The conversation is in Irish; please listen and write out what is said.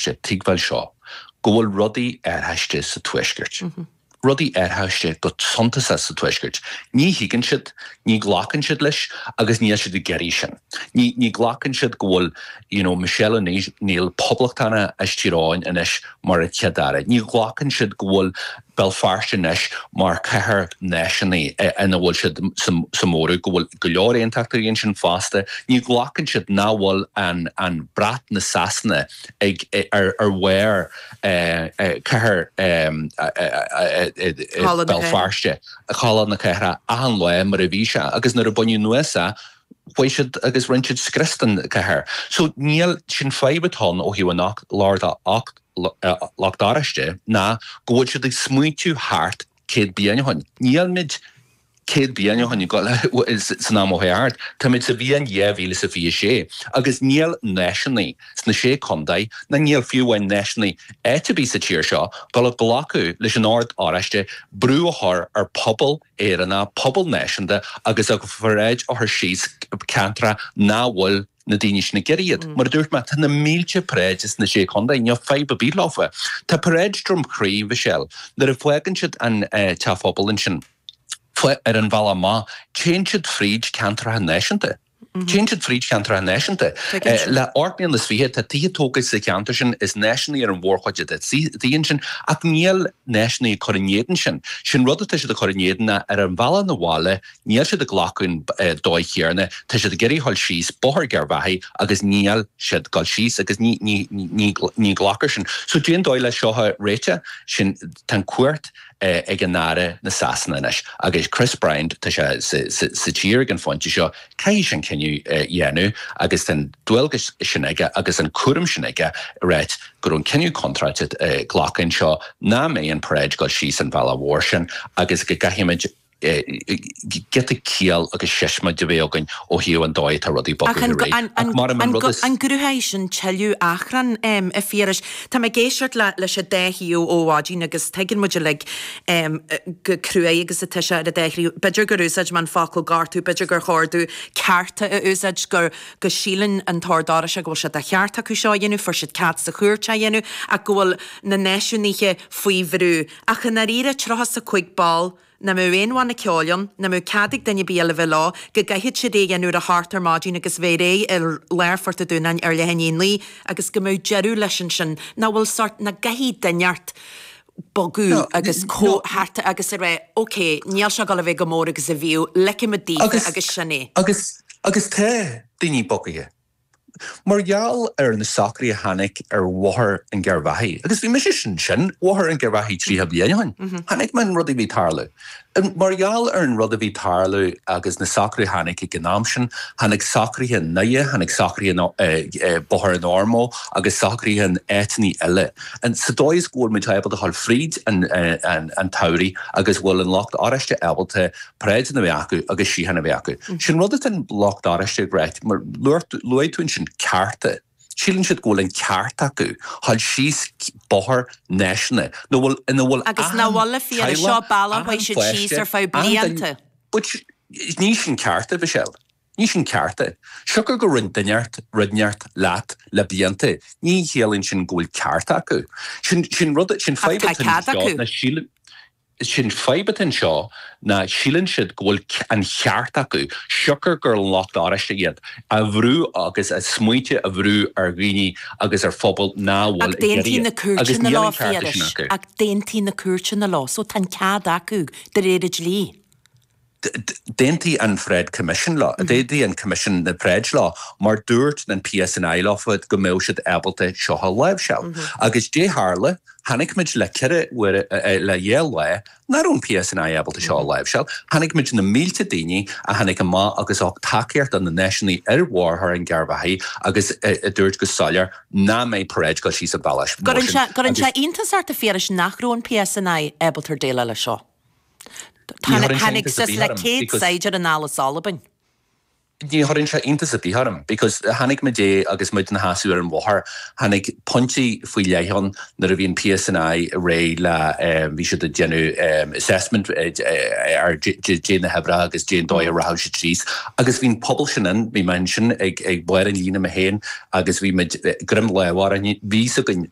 Tuigbheáil seo, go bhfuil rudaí athraithe sa Tuaisceart. Rudaí athraithe go suntasach sa Tuaisceart. Ní thuigeann siad, ní ghlacann siad leis agus níl siad ag iarraidh sin. Ní, ní ghlacann siad go bhfuil, you know, Michelle O'Neill poblachtánach as Tír Eoghain anois mar an Chéad-Aire. Ní ghlacann siad go bhfuil Béal Feirste anois mar chathair náisiúnaí ina bhfuil siad sa móramh, go bhfuil go leor aontachtóirí ansin fosta. Ní ghlacann siad nach bhfuil an, an brat na Sasana ag, ar, ar bharr cathair Béal Feirste, Halla na Cathrach, achan lá mar a bhí sé agus nuair a baineadh anuas é, chuaigh siad agus rinne siad scrios den chathair. So níl, sin fadhb atá ann ó thaobh an Lucht Oráiste ná go bhfuil siad ag smaointiú thart 100 bliain ó shin. Nílmid 100 bliain ó shin san am ó thart. Táimid sa bhliain 2026 agus níl náisiúnaigh sna Sé Chontae, ná níl fiú amháin náisiúnaigh áit ar bith sa tír seo, dul a ghlacadh leis an Ord Oráiste brú a chur ar pobal Éireannach, pobal náisiúnta agus a pharáid a chur síos ceantracha nach bhfuil na daoine sin ag iarraidh iad. Mar a dúirt mé, tá na mílte paráid sna Sé Chontae, níl fadhb ar bith leofa. Tá paráid Droim Crí, Michelle, nuair a fágann siad an Teach Phobail ansin, ar an bhealach amach, téann siad fríd ceantracha náisiúnta. Téann siad fríd cheantracha náisiúnta. Le hocht mbliana is fiche, tá tithe tógtha sa cheantar sin, is náisiúnaigh ar an mhórchuid de na tithe ansin, ach níl náisiúnaigh ag cur in éadan sin. Sin rud atá siad ag cur in éadan ná ar an bhealach 'na bhaile, níl siad ag glacadh an dóigh chéarna, tá siad ag iarraidh dhul síos Bóthar Gharbhachaidh agus níl siad ag dul síos agus ní, ní, ní, ní glacfar sin. So cén dóigh le seo a réiteach? Sin, tá an chumhacht ag an Aire na Sasana anois agus Chris Bryant, tá sé sa tír ag an phointe seo, caithfidh sé an cinneadh a dhéanamh agus tá an dualgas sin aige agus an cúram sin aige ráit go raibh an cinneadh contráilte glactha anseo nach mbeidh an paráid ag dul síos an bhealach mhór sin agus go gcaithfimid giota ciall agus siosmaid a bheith againn ó thaobh an dóigh atá rudaí bogtha ar aghaidh. Ach mar an rud is. An gcruthóidh sin tuilleadh achrann, a Phiarais? Tá mé ag éisteacht leis an dá thaobh ó mhaidin agus tuigeann muid uilig chomh cruaidh agus atá sé ar an dá thaobh. B'fhéidir gur úsáid mé an focal gortú, b'fhéidir gur chóir domh cearta a úsáid, gur go síleann an tOrd Oráisteach go bhfuil sé de cheart acu seo a dhéanamh, fuair siad cead sa chúirt é a dhéanamh, ach go bhfuil na náisiúnaithe faoi bhrú. Ach i ndáiríre, 35 ball, nach mbeadh aon bhanna ceoil ann, nach mbeadh cead ag duine ar bith eile bheith leo, go gcaithfeadh siad é a dhéanamh ar a hocht ar maidin agus bheith réidh i lár Phort an Dúnáin ar leath i ndiaidh a naoi agus go mbeadh deireadh leis ansin, nach bhfuil sort, nach gcaithfidh duine inteacht bogadh agus comhthart agus a rá ok, níl sé ag dul a bheith chomh mór agus a bhíodh, ligfimid daofa agus sin é. Agus, agus tá daoine bogtha. Mar gheall ar na socruithe a tháinig ar Bhóthar an Gharbhachaidh, agus bhí mise ansin, Bhóthar an Gharbhachaidh 30 bliain ó shin, chonaic mé an rud a bhí ag tarlú. Mar gheall ar an rud a bhí ag tarlú agus na socruithe a tháinig ag an am sin, tháinig socruithe i nDoire, tháinig socruithe i Bóthar an Ormeau agus socruithe in áiteanna eile. Sa dóigh is go bhfuil muid ábalta a dhul fríd an tsamhraidh agus go bhfuil an lucht oráiste ábalta paráideanna a bheith acu agus síocháin a bheith acu. Sin rud atá an lucht oráiste ag ráit, mar luaigh tú ansin cearta. Síleann siad go bhfuil an ceart acu dhul síos bóthar náisiúnta ina bhfuil ina bhfuil Agus nach bhfuil a Phiarais, seo bealach a chuaigh siad síos ar feadh blianta. But ní sin ceart, a Mhichelle. Ní sin ceart é. Siocair go rinne duine inteacht rud inteacht leat le blianta, ní chiallaíonn sin go bhfuil ceart acu. Sin sin rud sin fadhb atá anseo ná síleann Sin fadhb atá anseo ná síleann siad go bhfuil an cheart acu, siocair gur an lucht oráiste iad, a bhrú agus a smaointe a bhrú ar dhaoine agus ar phobail ná fuil ag iarraidh iad. Agus níl an cearta sin acu. Ach d'aontaigh na cúirteanna leo, so tá an cead acu de réir an dlí. D'aontaigh an Pharáid Commission leo, d'aontaigh an Coimisiún na Paráid leo mar dúirt an PSNI leofa go mbeadh siad ábalta seo a láimhseáil. Agus dé tharla, chonaic muid le ceithre uaire, le dhá lá, nach raibh an PSNI ábalta seo a láimhseáil. Chonaic muid na mílte daoine a tháinig amach agus a thug tacaíocht do na náisiúnaigh ar Bhóthar an Gharbhachaidh agus a dúirt go soiléir nach mbeidh paráid ag dul síos an bealach mór sin. Cuireann sé iontas ort a Phiarais nach raibh an PSNI ábalta déileáil leis seo. Tháinig suas le 100 saighdiúir anall as Albain. Ní chuireann sé iontas ar bith orm because chonaic muid é agus muid ina sheasamh ar an bhóthar, tháinig pointí faoi leith ann nuair a bhí an PSNI réidh le, bhí siad ag déanamh assessment ar dé na hoibreacha agus dén dóigh a rachadh siad síos agus bhí an pobal sin ann, bhí mé ansin ag barr an líne mé féin agus bhí muid greim láimhe orainn, bhí fhios againn.